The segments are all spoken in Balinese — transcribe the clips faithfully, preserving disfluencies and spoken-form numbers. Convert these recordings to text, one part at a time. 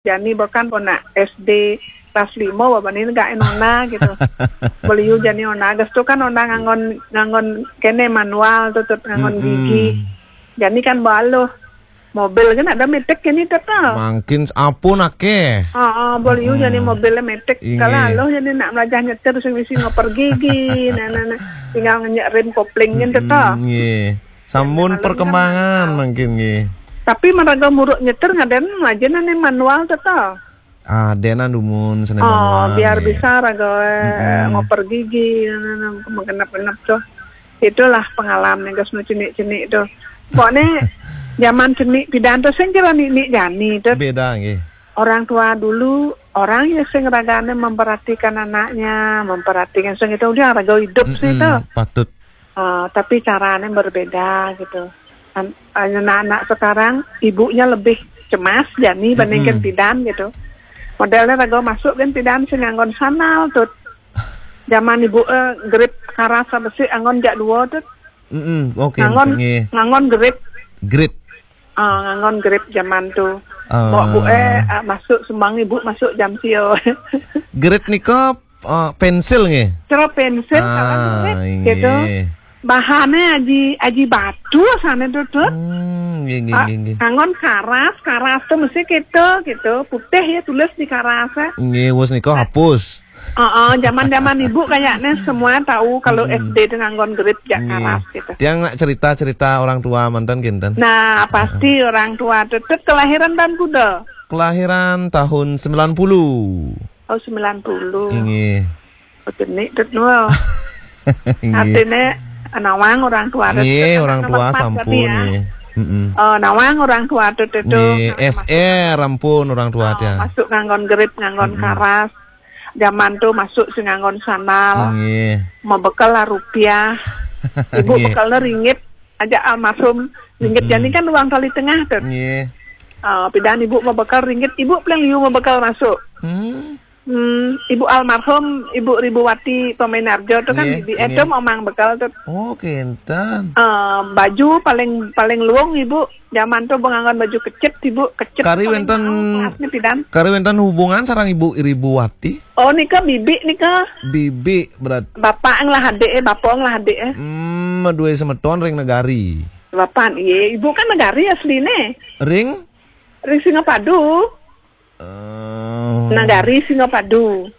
Jani bahkan pun nak S D kelas lima, wah, bani negak nona gitu. Beliau jani nona, gas tu kan nona nganggon, nganggon kene manual tu, Tut, nganggon gigi. Jani kan baluh. Mobil kan ada metik kini, Tut, tau. Mangkin apun ake. Ah, ah, beliau jani mobil metik. Kalau aloh jani nak belajar nyetir, sing misi ngoper gigi, nah, nah, nah. Tinggal ngenyek rem kopling kan, Tut, tau. Nggih. Sampun perkembangan mangkin nggih. Tapi maraga muruk nyetir ngaden aja nane manual, Tut, tau. Ah, dena dumun sene manual. Oh, biar bisa raga, eh, ngoper gigi, nah, nah, nah, menggenap-genap tuh. Itulah pengalaman gas nu cenik-cenik tuh. Pokoknya zaman cenik pidan tuh sing kira nik-nik jani tuh. Beda nggih. Orang tua dulu, orang yang sing ragane memperhatikan anaknya, memperhatikan sing itu udah raga hidup sih tuh. Patut. Eh, tapi caranya berbeda gitu. An-, anak-anak sekarang ibunya lebih cemas jani bandingkan pidan gitu. Modelnya raga masuk kan pidan sing nganggon sandal tuh. Zaman ibu, eh, grip karas besi anggon jak dua tuh. Mm-mm. Oke, nganggon, nggih. Nganggon grip. Grip. Ah, nganggon grip zaman tu. Ah. Bawa bu eh, ah, masuk sembang ibu masuk jam sio. Grip nika, ah, pensil nggih? Cara pensil, ah, kalau grip, inggih, gitu. Bahannya aji, aji batu sana tu, tu. Hmm, nggih, nggih, ah, nggih, nggih. Nganggon karas, karas tu mesti gitu, gitu. Putih ya tulis di karas, eh. Nggih, wis nika hapus. Heeh, zaman-zaman ibu kayaknya semua tahu kalau S D itu nganggon grip jak karas gitu. Tiang nak cerita-cerita orang tua mantan kinten. Nah, pasti orang tua tetep kelahiran tahun kuda. Kelahiran tahun sembilan puluh. Oh, sembilan puluh. Inggih. Oh, jenik tuh, Nul. Inggih. Artinya, nawang orang tua tetep. Nggih, orang tua sampun, ya. Nggih. Mm-mm. Oh, nawang orang tua tetep. Nggih, S R ampun orang tua, oh, dia. Masuk nganggon grip, nganggon karas. Zaman tu masuk sing nganggon sandal. Nggih. Mau bekel lah rupiah. Ibu bekelnya ringgit. Aja almarhum ringgit jani kan uang kali tengah tu. Nggih. Ah, pidan ibu mau bekel ringgit, ibu paling liu mau bekel masuk. Hmm. Hmm, ibu almarhum, Ibu Ribuwati Pemenarjo tu kan, nggih, bibi nggih. Itu mamang bekel tu. Oh, kinten. Ah, baju paling, paling luung ibu. Zaman tu benganggon baju kecet, ibu, kecet. Kari wenten, kari wenten hubungan sarang Ibu Ribuwati? Oh, nika bibi nika. Bibi berat. Bapak ngelah adik, eh, bapak ngelah adik, eh. Hmm, dua semeton ring negari. Bapak, iya, ibu kan negari asline. Ring? Ring Singapadu. Eh. Negari Singapadu.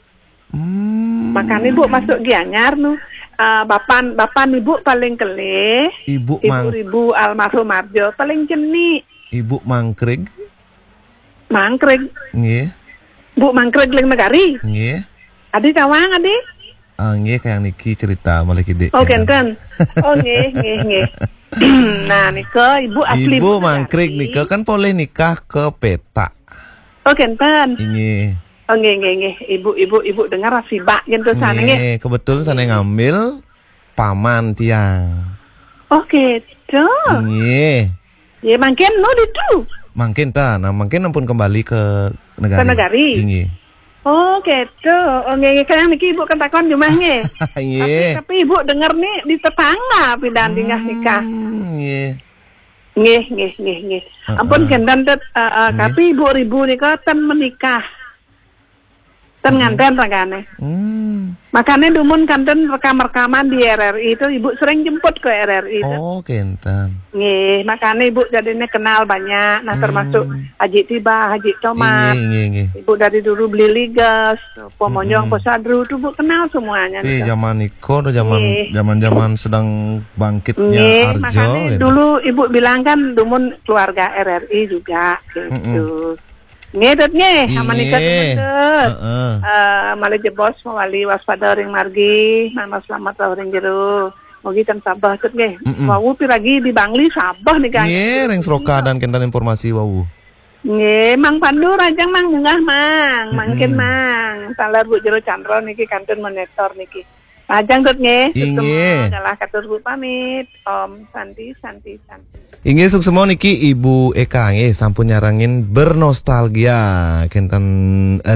Hmm. Makanya ibu masuk Gianyar nu. Ah, bapan, bapan ibu paling kelih. Ibu Mang- Ribu almarhum Arjo paling jenik. Ibu Mangkrig. Mangkrig. Nggih. Bu Mangkrig ling negari. Nggih. Adi tawang adi. Ah, nggih, kayak niki cerita malih kidik. Oh, kinten. Oh, nggih, nggih, nggih. Nah, nika ibu asli Ibu Mangkrig nika kan polih nikah ke petak. Oh, kinten. Inggih. Oh, nggih, nggih, nggih. Ibu, ibu, ibu dengar sibak gitu sana, nggih. Nggih, kebetulan sana ngambil paman tiang. Oh, gitu. Nggih. Ya, mangkin nu ditu. Mangkin ta, nah mangkin ampun kembali ke negari. Ke negari? Inggih. Oh, gitu. Oh, nggih, nggih. Kalian niki ibu kan takon jumah, nggih. Nggih. Tapi, tapi ibu dengar nih di tetangga pindah tinggal nikah. Hmm, nggih. Nggih, nggih, nggih, nggih. Heeh. Ampun, kinten, Tut, eh, eh, nggih. Tapi Ibu Ribu nika ten menikah. Ten nganten ragane. Hmm. Makane dumun kanten rekam-rekaman di R R I itu, Ibu sering jemput ke R R I itu. Oh, kinten. Nggih, makane Ibu jadinya kenal banyak. Nah, termasuk Haji Tiba, Haji Tomat. Nggih, nggih, nggih. Ibu dari dulu beli ligas, Pomonyong, Posadru, tuh Bu kenal semuanya. Iya, gitu. Zaman Iko, tuh zaman, zaman-zaman sedang bangkitnya Arjo, makanya gitu. Dulu Ibu bilang kan dumun keluarga R R I juga, gitu. Nggih, Tut, nggih. Sama nika, Tut. Heeh. Eh, malih jebos mawali waspada ring margi, mangda selamat rauh ring jero. Mugi ten sabeh, Tut, nggih. Wau piragi di Bangli sabeh nika. Nggih, ring Seroka dan kinten informasi wau. Nggih, Mang Pandu rajang Mang munggah, Mang. Mangkin, Mang. Taler Bu Jero Chandra niki kantun monitor niki. Rajang, Tut, nggih. Inggih. Galah katur Bu pamit. Om Santi, Santi, Santi. Inggih, suksma niki Ibu Eka nggih sampun nyarengin bernostalgia kinten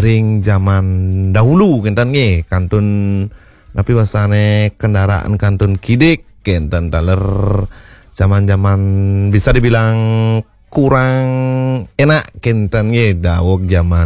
ring zaman dahulu kinten nggih, kantun napi wastane kendaraan kantun kidik kinten taler zaman-zaman bisa dibilang kurang enak kinten nggih dawuh jaman